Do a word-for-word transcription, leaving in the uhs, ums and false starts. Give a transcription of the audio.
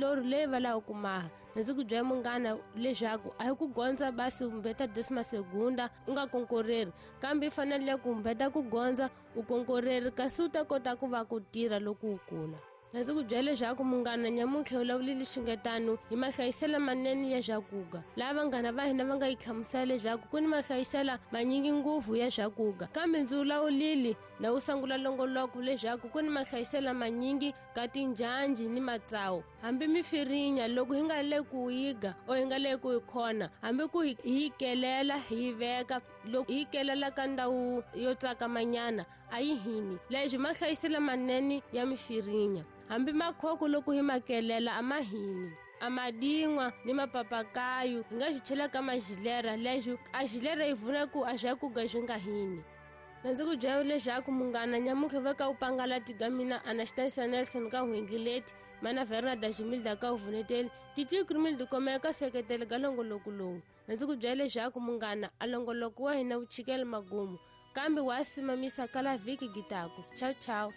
milorho leyi va lava ku maha. Ndzi ku byela munghana leswaku a hi ku gondza basi mbeta décima segunda u nga konkoreri, kambe i fanele ku mbeta ku gondza u konkoreri kasi u ta kota ku va ku tirha loko u kula. Ndzi ku byela leswaku munghana nyamuntlha u vulavulile xingetano hi mahlayiselo manene ya swakudya, laha vanghana va hina va nga yi hlamusela leswaku ku ni mahlayiselo manyingi ngopfu ya swakudya, kambe ndzi vulavulile na wu sungula longoloko leswaku ku ni mahlayiselo manyingi ka tinjhanji ni matsawu, hambi mifirinya loko hi nga le ku yiga o hi nga le ku yi khona, hambi ku hi yi kelela hi yi veka, loko hi yi kelela ka ndhawu yo tsakamanyana a yi hini. Leswi mahlayiselo manene ya mifirinya, hambi makhoko loko hi makelela a ma hini, a madingwa ni mapapakayu hi nga swi chela ka majilera, leswi a jilera yi vuna ku a swakudya swi nga hini. Ndzi ku byela leswaku munghana nyamuntlha va ka u pangala tiga mina Anastasia Nelson ka Hwendlileti, mana Vernada Jimilda ka Vuneteli, Titi Krumil dikomeka seketele ka longoloko lowu. Ndzi ku byela leswaku munghana a longoloko wa hina wu chikela magumu, kambe wa simamisa kala vhiki gitaku. Ciao ciao.